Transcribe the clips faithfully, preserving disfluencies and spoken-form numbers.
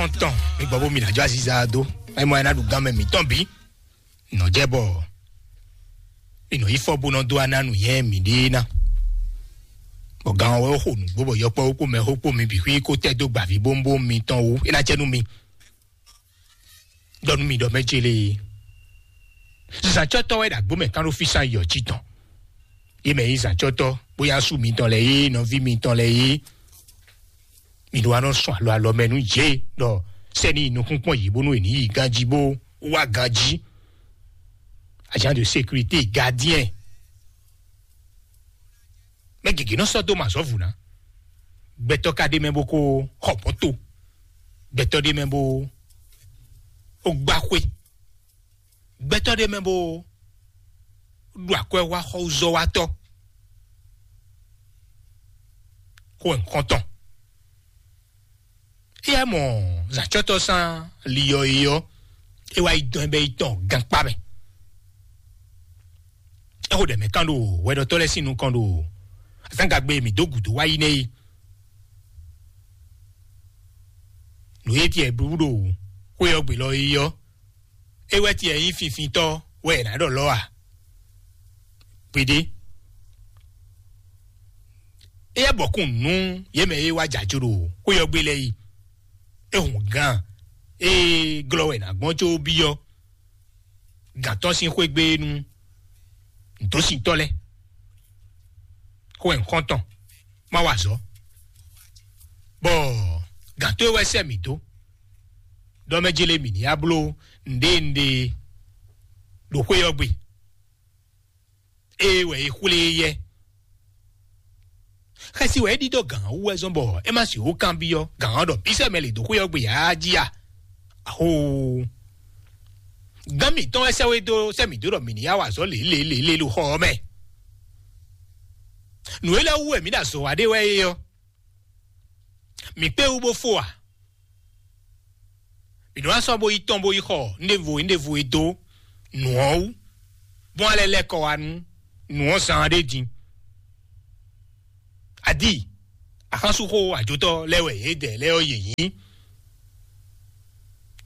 Tɔn mi gbɔ bó mi ná jó aziza dó. Ɛ mɔ ɛ ná ɖu gán mɛ mǐtɔn bí. Nɔ jɛ bɔ mi nɔ yi fɔ bó nɔ dó aná nu yɛ mi ɖe ná. Bɔ gán wɛ xo nǔgbó bɔ yɔkpɔ kó mɛ xó kpó mi bǐ xwí kó tɛ dó gbàví bómbóm mitɔn wú é ná jɛ nú mi. Ɖɔ nú mi ɖɔ mɛ jele. Zǎncɔ́tɔ́ wɛ ɖo agbó mɛ kán ɖó físán yɔ jí tɔn. Yé mɛ yí zǎncɔ́tɔ́ bóyá sú mitɔn lɛ yé nɔví mitɔn lɛ yé. Mi ɖó wá nɔ sɔn alɔ alɔ mɛ nú yě ɖɔ sɛni nukún kpɔn yě bónú è ní yi ganjí bó wá ganjí. Agent de sécurité, gardien. Mɛ gěgé nɔ sɔ́ dó mǎ zɔ́ vǔ ná. Gbɛtɔ́ ka ɖ'é mɛ bó kó xɔ mɔ̌to. Gbɛtɔ́ ɖ'é mɛ bó ó gbá xwé. Gbɛtɔ́ ɖ'é mɛ bó ɖo akwɛ́wáxɔzɔ́wátɔ́. Xó wɛ un xɔ́n tɔn. Éyɛ́ mɔ zǎncɔ́tɔ́ sán liyɔ é ɔ́, é wá yi dɔn ɛ bɛ́ yi tɔn gankpá mɛ. É xo ɖɛ mɛ kán ɖo hwɛɖɔtɔ́ lɛ́ɛ sín nukɔn ɖo azǎngagbe e mǐ dó gǔdo wá yi nɛ́ é. Nǔ e tiɛ blú ɖo xwé ɔ́ gbe lɔ é ɔ́, é wɛ tiɛ nyí finfintɔ́ wɛ è nǎ ɖɔ lɔ́ a? Gbeɖé. Éyɛ́ bɔkún nú yě mɛ e wá jǎ jó ɖo xwé ɔ́ gbe lɛ́ɛ yi. É hɔn gán e glɔ́ wɛ è nǎ gbɔn có byɔ́ gǎn tɔn sín xwé gbe nú nǔdósintɔ́ lɛ́ɛ. Xó wɛ un xɔ́n tɔn, má wa azɔ̌. Bɔ gǎn tó e wɛ sɛ́ mǐ dó ɖɔ mɛ jélé mǐ ní yá bló nǔɖé nǔɖé ɖo xwé ɔ́ gbe. Ée wɛ é xwlé yɛ. Xɛsi wɛ é ɖidó gǎn ɔ́ wú wɛ zɔ́n bɔ é má sixú kanbyɔ́ gǎn ɔ́ ɖɔ bísɛ́ mɛ lě dó xwé ɔ́ gbe ǎ jí a? Axoo! Gǎn mǐtɔn wɛ sɛ́ wé dó sɛ́ mǐ dó ɖɔ mǐ ní yá wa azɔ̌ lě lě lě lě ɖo xɔ ɔ́ mɛ. Nǔ élɔ́ wú wɛ mǐ ɖo azɔ̌ wa ɖé wɛ é ɔ́, mǐ kpé wú bó fó a? Mǐ nɔ wá sɔ́ bó yi tɔn bó yi xɔ nɖěvo nɖěvo e dó nǔ ɔ́ wú, bɔn alɛ lɛ́ kɔ wá nú nǔ ɔ́ zán ɖé din. Adi axánsúxó ajotɔ́ lɛ́ɛ wɛ yědɛɛ lɛ́ɛ ɔ́ yě nyí.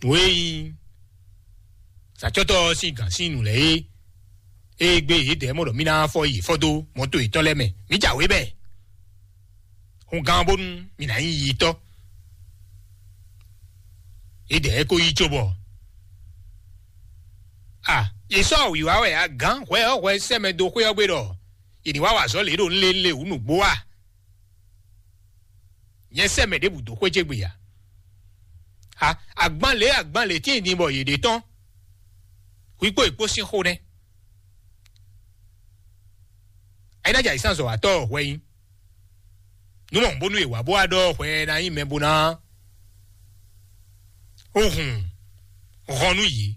Nǔ e nyí sacɔ́tɔ́ ɔ́ sín gǎn sín nǔ lɛ́ɛ é, é gbé yědɛɛ mɔ ɖɔ mí ná fɔ yi fɔ dó mɔto yětɔn lɛ́ɛ mɛ. Mǐ jǎwe bɛ hun gán bónú mǐ ná nyí yitɔ́. Yědɛɛ ko yí cóbɔ a yě sɔ́ wǐwá wɛ a gǎn hwɛ ɔ́ hwɛ sɛ́ mɛ dó xwé ɔ́ gbe ɖɔ yě ní wá wa azɔ̌ lě ɖo nlélé wǔ nǔgbó a? Nyɛ sɛ́ mɛ ɖěbǔ dó xwé ce gbe ǎ. A agban lě agban lě tíin din bɔ yě ɖe tɔn. Hwi kpó è kpó sín xó nɛ́. Ayínájà yě sán zɔ̌watɔ́ hwɛ nyí. Nú mɔ bónú è wǎ bó wá ɖɔ hwɛ ná nyí mɛ bó ná ó hun hɔn nú yě,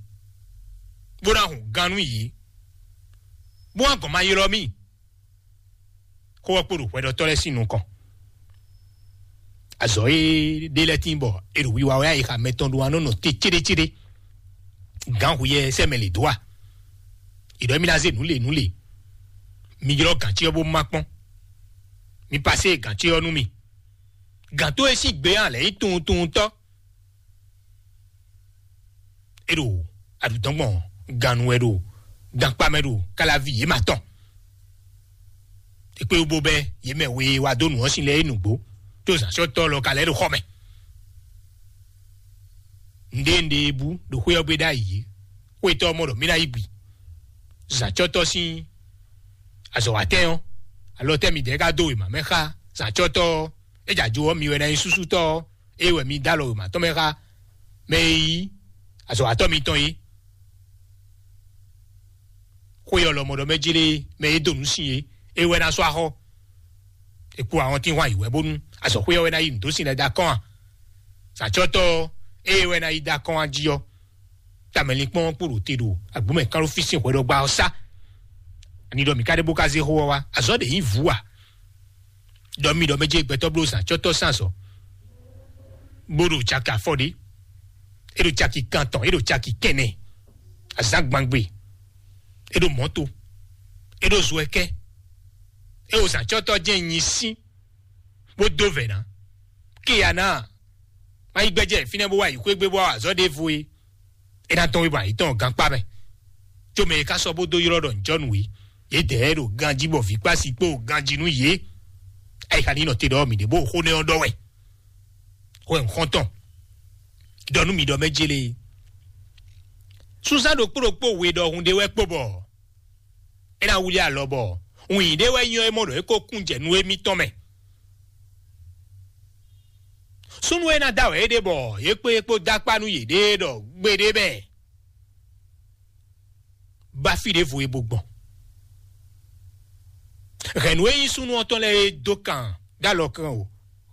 bó ná hun gán nú yě, bó wá gɔn ma ylɔ́ mì. Xó ɔ́ kpo ɖo hwɛɖɔtɔ́ lɛ́ɛ sín nukɔn. Azɔ̌ e ɖe lɛ́ɛ tín bɔ è ɖo wiwa wɛ ayixa mɛtɔn ɖó wá nɔ nɔ te céɖécéɖé. Gǎn hu yɛ sɛ́ mɛ lě dó a? È ɖɔ émí ná zé nǔ lě nǔ lě. Mi ylɔ́ gǎn ce ɔ́ bó má kpɔ́n. Mi pasé gǎn ce ɔ́ nú mì. Gǎn tó e sín gbe ɔ́ lɛ̌ nyí tunwuntunwuntɔ́. É ɖo aɖǔdɔ́ngbɔn gannú wɛ ɖo gankpá mɛ ɖo káláví yě ma tɔn. È kpé wú bó bɛ́ yě mɛ we wá dó nǔ ɔ́ sin lɛ́ɛ é nǔgbó, tó zǎnsɔ́tɔ́ lɔ ka lɛ́ ɖo xɔ mɛ. Nǔɖé nǔɖé e bú ɖo xwé ɔ́ gbe ɖ'ayǐ, xwétɔ́ ɔ́ mɔ ɖɔ mí ná yí gbi. Zǎncɔ́tɔ́ sín azɔ̌watɛ́n ɔ́, alɔ tɛ́ midɛɛ ka dó wěma mɛ xá zǎncɔ́tɔ́ ɔ́? É jɛ ajo ɔ́, mi wɛ ná nyí súsútɔ́ ɔ́, é wɛ mi dó alɔ wěma tɔn mɛ xá mɛ e nyí azɔ̌watɔ́ mitɔn é. Xwé ɔ́ lɔmɔɖɔ mɛ jlé mɛ e dó nǔ sin é, é wɛ ná sɔ́ axɔ́. È kú ahɔntínhwan yǐ wɛ bónú azɔ̌xwé ɔ́ wɛ ná yí nǔ dó sin lɛ́ɛ dó akɔ́n a? Sǎcɔ́tɔ́ ɔ́, ée wɛ ná yí dó akɔ́n a jí ɔ́, tamɛlinkpɔ́n ɔ́ kpo ɖo te ɖo agbǒmɛ kánɖófí sín hwɛɖɔgba ɔ́ sá. Ani ɖɔ mǐ ka ɖe bó ka zé xó ɔ́ wá? Azɔ̌ ɖě nyí vǔ a? Ɖɔ mi ɖɔ mɛ jɛ gbɛtɔ́ bló zǎncɔ́tɔ́ sín azɔ̌, bó ɖo caki afɔ ɖé, é ɖo caki kantɔn, é ɖo caki kɛnɛ, azǎn gbangbe, é ɖo mɔ̌to, é ɖo zo ɛkɛ, é ɖo zǎncɔ́tɔ́ jɛ́n nyi sín, bó dó vɛ̌ ná. Kéya ná, Má yi gbɛjɛ fínɛ́ bó wá yi xwé gbé bó wá azɔ̌ ɖěvo é. É ná tɔ́n wé bɔ ayǐ tɔn gankpá mɛ. Có mɛ e ka sɔ́ bó dó ylɔ́ ɖɔ ǹjɔ́nǔ é, yědɛɛ ɖo ganjí bɔ vǐ kpási kpó ganjí nú yě. Ayixa ní nɔ te ɖɔ mǐ ɖě bó xó nɛ́ ɔ́ ɖɔ wɛ. Xó ɛ xɔ́ntɔn ɖɔ nú mi ɖɔ mɛ jélé. Sunzán ɖokpó ɖokpó we ɖɔhun ɖé wɛ kpo bɔ é ná wlí alɔ bɔ wǐn ɖé wɛ nyɔ́ é mɔ ɖɔ é ko kún jɛ nú émítɔn mɛ. Súnnu e ná da wɛ é ɖe bɔ yě kpé é kpó dó akpá nú yěɖée ɖɔ gbeɖé mɛ bá fí ɖěvo e bo gbɔn. Hɛ̌nnu e nyí súnnu ɔ́ tɔn lɛ́ɛ é dó kan dó alɔ kan o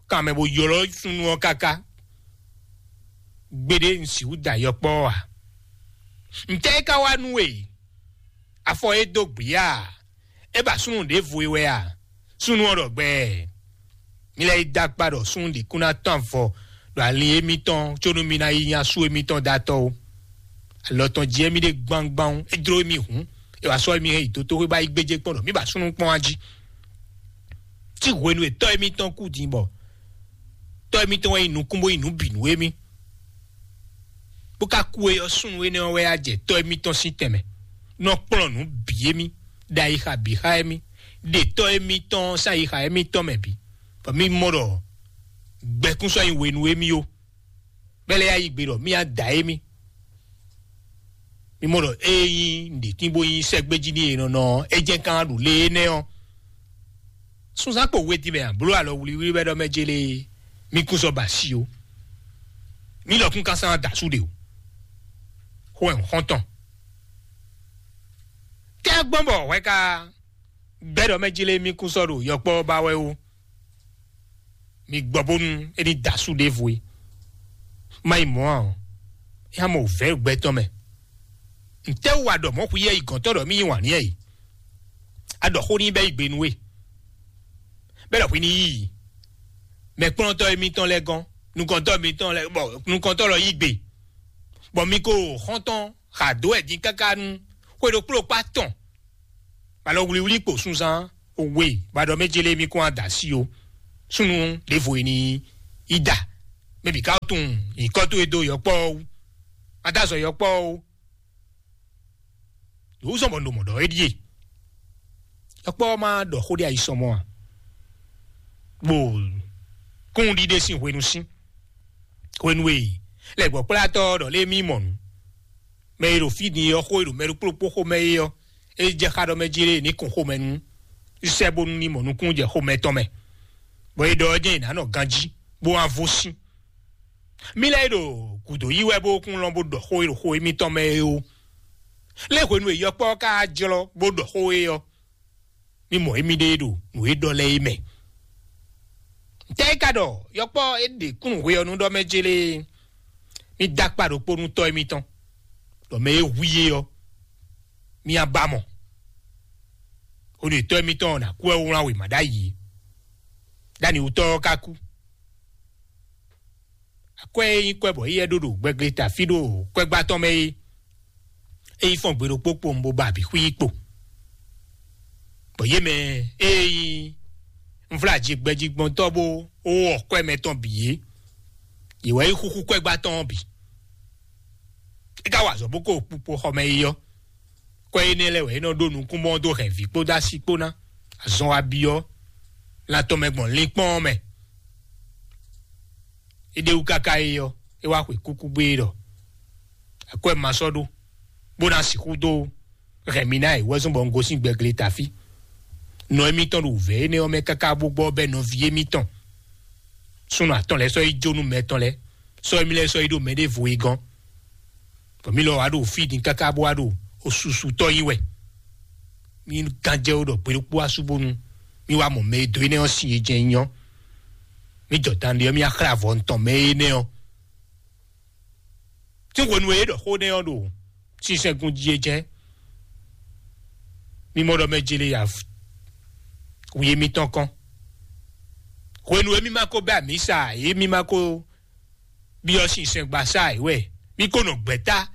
kan mɛ bó ylɔ́ súnnu ɔ́ káká. Gbeɖé un sixú da yɔkpɔ́ ɔ́ ǎ. Ntɛ́ é ka wá nú we? Afɔ é dó gbǐ a? É ba súnnu ɖěvo e wɛ a? Súnnu ɔ́ ɖɔ gbɛɛ. Mi lɛ́ yi dó akpá ɖɔ súnnu ɖě kún ná tɔ́n avɔ ɖo ali émítɔn có nú mi ná yi nya sú émítɔn dó atɔ́ ó. Alɔ tɔn jí émí ɖe gbangban é jló émí hǔn, é wǎ sɔ́ émí hɛn yi dotóxwé bá yi gbéjé kpɔ́n ɖɔ mí ba súnnu kpɔ́n wá jí. Tí hwenu e tɔ́ émítɔn kú din bɔ tɔ́ émítɔn wɛ nyí nukún bó nyí nǔ bǐ nú émí, bó ka kú é ɔ́, súnnu énɛ́ ɔ́ wɛ á jɛ tɔ́ émítɔn sín tɛnmɛ, nɔ kplɔ́n nǔ bǐ émí, ɖo ayixa bǐ xá émí, ɖe tɔ́ émítɔn sín ayixa émítɔn mɛ bǐ, bɔ mí mɔ ɖɔ gbɛkún sɔ́ nyi we nú émí ó. Bɛ́ lɛ́ɛ yá yi gbe ɖɔ mí á da émí. Mí mɔ ɖɔ ée nyí nǔɖétín bó nyí sɛ́gbéjí n'i e nɔ nɔ ɔ́, é jɛ́n kán ɖo lě énɛ́ ɔ́. Sunzán kpo we din mɛ a bló alɔ wlíwlí wɛ ɖɔ mɛ jélé mí kún sɔ́ ba asi ó. Mí lɔkún ka sán da asú ɖe o. Xó ɛ xɔ́ntɔn. Tɛ́ gbɔn bɔ hwɛ ka gbɛ́ ɖɔ mɛ jélé mí kún sɔ́ ɖo yɔkpɔ́ ba wɛ ó. Mi gbɔ bónú é ní da asú ɖěvo é. Má yi mɔ̌ ǎ ɔ́, é hán mɔ wǔvɛ́ gbɛ tɔn mɛ. Ntɛ́ wú a ɖɔ mɔ̌ xwíyɛ́ yi gɔ̌ntɔn ɖɔ mí yí wǎn n'i é? A ɖɔ xó n'i bɛ́ yi gbe nú we. Bɛ́ ɖɔ hwi ní yí i. Mɛkplɔ́ntɔ́ émítɔn lɛ́ɛ gɔ́n, nukɔntɔ́ émítɔn lɛ́ɛ bɔ nukɔntɔ́ lɔ yí gbe. Bɔ mi ko xɔ́ntɔn xa dó wɛ din káká nú xwe ɖokpó ɖokpó atɔn. Alɔ wlíwlí kpo sunzán we ba ɖɔ mɛ jélé mí kún ada sí o. Súnnu ɖěvo e ní yi da. Mɛ bǐ ka tunwun nyǐkɔ towe dó yɔkpɔ́ ɔ́ wú. Má dó azɔ yɔkpɔ́ ɔ́ wú. Yǒzɔn bɔ un ɖo mɔ̌ ɖɔ é ɖíe. Yɔkpɔ́ ɔ́ má ɖɔ xó ɖé ayisɔmɔ a? Bó kún ɖiɖe sín hwenu sín. Hwenu e lɛ̌gbɔ́kplátɔ́ ɔ́ ɖɔ lé mí mɔ nǔ. Mɛ e ɖo fí din ɔ́ xó e ɖo mɛ ɖokpó ɖokpó xomɛ é ɔ́, é jɛ xá ɖɔ mɛ jí lé ní kun xomɛ nú sɛ́ bónú ní mɔ nukúnnú jɛ xomɛ tɔn mɛ, bɔ é ɖɔ ɔ́ jɛ́n è nǎ nɔ ganjí bó wá vo sín. Mí lɛ́ɛ e ɖo gǔdo yí wɛ bó kún lɔn bó ɖɔ xó e ɖo xo émítɔn mɛ é ó. Lé hwenu e yɔkpɔ́ ɔ́ ka jlɔ́ bó ɖɔ xó é ɔ́, mí mɔ émíɖée ɖo nǔ e ɖɔ lɛ́ɛ é mɛ. Ntɛ́ é ka ɖɔ yɔkpɔ́ é ɖe kúnnu hwe ɔ́ nú ɖɔ mɛ jélé? Mí dó akpá ɖokpó nú tɔ́ émítɔn, ɖɔ mɛ e hu i é ɔ́, mí á ba mɔ. Hwenu e tɔ́ émítɔn ɔ́ ná kú wɛ wlán wěma ɖ'ayǐ é. Ɖ'anǐwútɔ́ ɔ́ ka kú. Akwɛ́ e nyí kwɛ́ bɔ éyɛ́ ɖó ɖo gbɛgle ta fí ɖo kwɛ́gbá tɔn mɛ é, é yi fɔ́n gbe ɖokpó kpowun bó ba abǐ xwí kpo. Bɔ yě mɛ e nyí nvlájigbɛjigbɔntɔ́ bó wɔ kwɛ́ mɛ tɔn bǐ é, yě wɛ yi xúxú kwɛ́gbá tɔn ɔ́ bǐ. É ka wa azɔ̌ bó ko kpukpo xɔ mɛ yi ɔ́, kwɛ́ énɛ́ lɛ́ɛ wɛ é nɔ ɖó nukúnmɔ dó hɛn vǐ kpódó asi kpó ná. Azɔn wa byɔ́ lan tɔn mɛ gbɔn linkpɔ́n ɔ́ mɛ. É ɖe wú káká é ɔ́, é wá xwe kúkú gbé é ɖɔ: "Akwɛ́ ma sɔ́ ɖó, bó ná sixú dó hɛn mi ná è wɛ́zɔ́n bɔ un gosín gbɛgle tafí." Nɔ émítɔn ɖo wǔvɛ́ énɛ́ ɔ́ mɛ káká bó gbɔ bɛ́ nɔví émítɔn súnnu atɔn lɛ́ɛ sɔ́ yi jó nú mɛ tɔn lɛ́ɛ, sɔ́ émí lɛ́ɛ sɔ́ yi ɖo mɛɖěvo e gɔ́n. Bɔ mí lɔ wá ɖo fí din káká bó wá ɖo osusutɔ́ yí wɛ. Mí gán jɛ wó ɖɔ gbe ɖokpó asú bónú mí wá mɔ mɛ e dó énɛ́ ɔ́ sin e jɛ́n nyí ɔ́. Mí jɔ dan ɖe ɔ́, mí wá xlɛ́ avɔ ntɔn mɛ énɛ́ ɔ́. Sín hwenu e é ɖɔ xó nɛ́ ɔ́ ɖo sinsɛngun jí é jɛ́n. Mí mɔ ɖɔ mɛ jele ya wi émítɔn kɔn. Hwenu e mí ma ko bɛ́ amǐ sa ǎ, é mí ma ko byɔ́ sinsɛngbasá ǎ wɛ. Mí ko nɔ gbɛ̌ta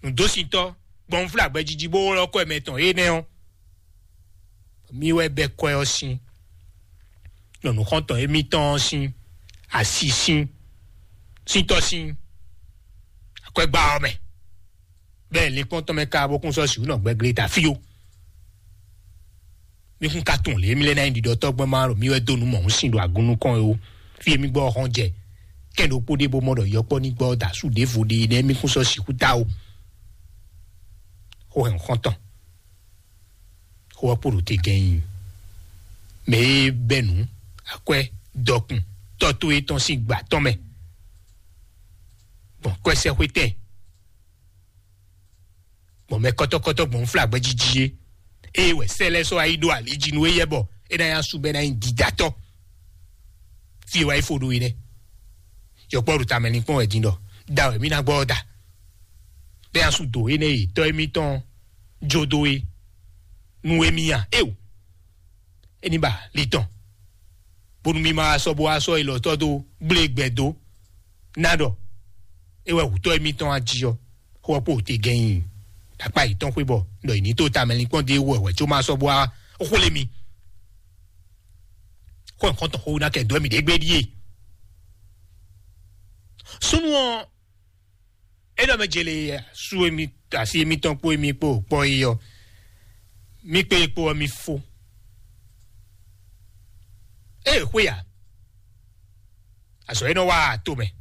nǔdósintɔ́ gbɔn nǔflágbɛ́ jiji bó ylɔ́ kɔ mɛ tɔn énɛ́ ɔ́. Mí wɛ bɛ́ kwɛ́ ɔ́ sín, nɔ nǔxɔ́ntɔn émítɔn ɔ́ sín asi sín. sín tɔ́ sín akwɛ́gbá ɔ́ mɛ, bɛ́ linkpɔ́n tɔn mɛ ka bó kún sɔ́ sǐ nɔ gbɛglé ta fí ó. Mi kún ka tunwun lě mi lɛ́ ná nyí ɖiɖɔtɔ́ gbɔn ma ɖo mi wɛ dó nǔ mɔ̌hun sin ɖo agun nukɔn é ó. Fí e mi gbɔ ɔ́ hɔn jɛ kɛn ɖokpó ɖé bó mɔ ɖɔ yɔkpɔ́ ní gbɔ da sú ɖěvo ɖé nɛ́ mi kún sɔ́ sixú ta ó. Xó hɛn xɔ́ntɔn, xó ɔ́ kpo ɖo te gɛ́n nyi mɛ e bɛ́ nǔ akwɛ́ dɔkun tɔ́ towe tɔn sín gbǎ tɔn mɛ gbɔn kwɛ́sɛ́xwétɛn gbɔn mɛ kɔ́tɔ́kɔ́tɔ́ gbɔn flagbɛ́ jiji é. Ée wɛ sɛ́ lɛ́ɛ sɔ́ wá yi ɖó ali jí nú éyɛ́ bɔ é ná nyí asú bɔ é ná nyí dídátɔ́. Fí e wá yi fo ɖó é nɛ́. Yɔkpɔ́ ɖo tamɛ linkpɔ́n wɛ din ɖɔ da wɛ mí ná gbɔ ɔ́ da. Bɛ́ asú dǒ énɛ́ e tɔ́ émítɔn jó dó é nú émí a? Éo, é ní ba li tɔn, bónú mí ma wá sɔ́ bó wá sɔ́ ilɔtɔ́ dó gblé gbɛ dó ná ɖɔ é wɛ hǔtɔ́ émítɔn a jí ɔ́, xó ɔ́ kpo te gɛ́n nyi akpá yětɔn xwé bɔ ɖɔ yě ní tó tamɛ linkpɔ́n dó é wɛ wɛ có ma sɔ́ bó wá xwlé mi. Xó ɔ́ xɔ́ntɔn xó ná kɛ dó mì ɖě gbé ɖíe. Súnnu ɔ́, é ɖɔ mɛ jele sú émi asi émítɔn kpó émi kpó kpɔ́ é ɔ́, mí kpé é kpó ɔ́ mí fó. Ée xwé a, azɔ̌ e nɔ wa to mɛ.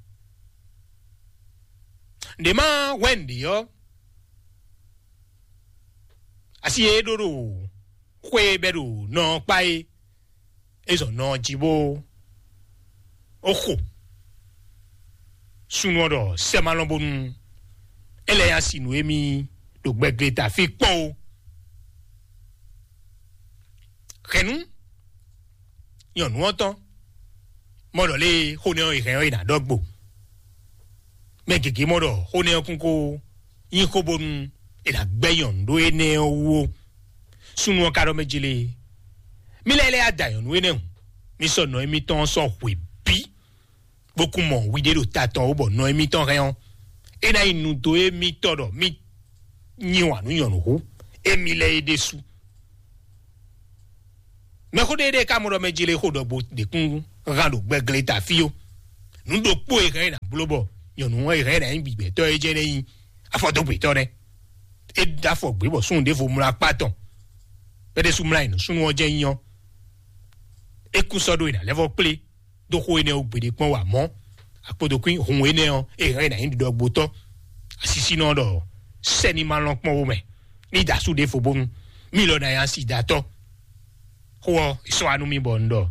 Nɖě ma hwɛ nǔɖé ɔ́, asi e é ɖó ɖo xwé e bɛ́ ɖo nɔ ɔ́ kpá é, é zɔn nɔ ɔ́ jí bó ó xo. Súnnu ɔ́ ɖɔ sɛ́ ma lɔn bónú é lɛ́ nyi asi nǔ émí ɖo gbɛgleta fí kpɔ́n ó. Hɛ̌nnu nyɔ̌nu ɔ́ tɔn mɔ ɖɔ lé xó nɛ́ ɔ́ è hɛn ɔ́ è nǎ ɖɔ gbo. Mɛ gěgé mɔ ɖɔ xó nɛ́ ɔ́ kún kó nyí xó bónú è nǎ gbɛ́ nyɔ̌nu ɖó énɛ́ ɔ́ wú ó. Súnnu ɔ́ ka ɖɔ mɛ jí lé, mí lɛ́ lɛ́ ya da nyɔ̌nu énɛ́ hǔn, mí sɔ́ nɔ émítɔn ɔ́ sɔ́ hwe bǐ, bó kún mɔ wiɖé ɖo ta tɔn ó bɔ nɔ émítɔn hɛn ɔ́, é ná nyí nu dó émítɔn ɖɔ mí nyi wǎn nú nyɔ̌nu hú émí lɛ́ɛ é ɖésú. Mɛxó ɖé ɖé ka mɔ ɖɔ mɛ jele xó ɖɔgbo ɖě kún hán ɖo gbɛgleta fí ó. Nǔ ɖokpó e hɛn é ná bló bɔ nyɔ̌nu ɔ́ e hɛn é ná nyí gbigbɛtɔ́ é jɛ́n é nyí afɔdógbetɔ́ nɛ́. É ɖó afɔ gbě bɔ súnnu ɖěvo mlá akpá tɔn. Bɛ́ ɖésú mlá yi nǔ súnnu ɔ́ jɛ́n nyí ɔ́, é kún sɔ́ ɖó e nǎ lɛ́ vɔ́ kplé dó xó énɛ́ ɔ́ gbeɖé kpɔ́n wǎ mɔ̌. Akpodokún hun énɛ́ ɔ́, é hɛn é ná nyí ɖiɖɔgbotɔ́. Asisínɔ ɖɔ sɛ́ni ma lɔn kpɔ́n wó mɛ ní da asú ɖěvo bónú mí lɔ ná nyí asi datɔ́. Xó ɔ́, è sɔ́ wá nú mì bɔ un ɖɔ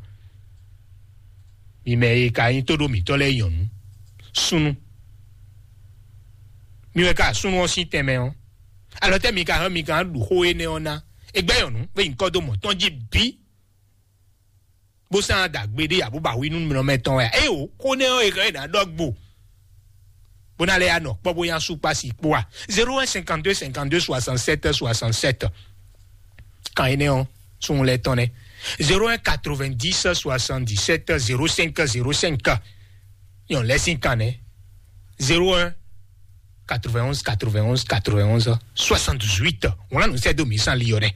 mi mɛ e ka nyí tóɖó mǐtɔn lɛ́ɛ nyɔ̌nu súnnu. Mi wɛ ka súnnu ɔ́ sín tɛnmɛ ɔ́, alɔ tɛ́ mi ka hɛn mi ka ɖu xó énɛ́ ɔ́ ná? È gbɛ́ nyɔ̌nu bó nyí kɔ́ dó mɔ̌ tɔn jí bǐ, bó sán dǎgbé ɖé abó ba wi nú nɔmɛ tɔn wɛ. Ée o, xó nɛ́ ɔ́ è hɛn é ná ɖɔ gbo bó ná lɛ́ ya nɔ kpɔ́ bó nyá sú kpá si kpó a? Zéro un cinquante-deux cinquante-deux soixante-sept soixante-sept. Kan énɛ́ ɔ́, súnnu lɛ́ɛ tɔn nɛ́. Zéro un quatre-vingt-dix soixante-dix-sept zéro cinq zéro cinq. Nyɔ̌nu lɛ́ɛ sín kan nɛ́. Zéro un quatre-vingt-onze quatre-vingt-onze quatre-vingt-onze soixante-dix-huit. Wlán nǔ sɛ́ dó mǐ sán li ɔ́ nɛ́.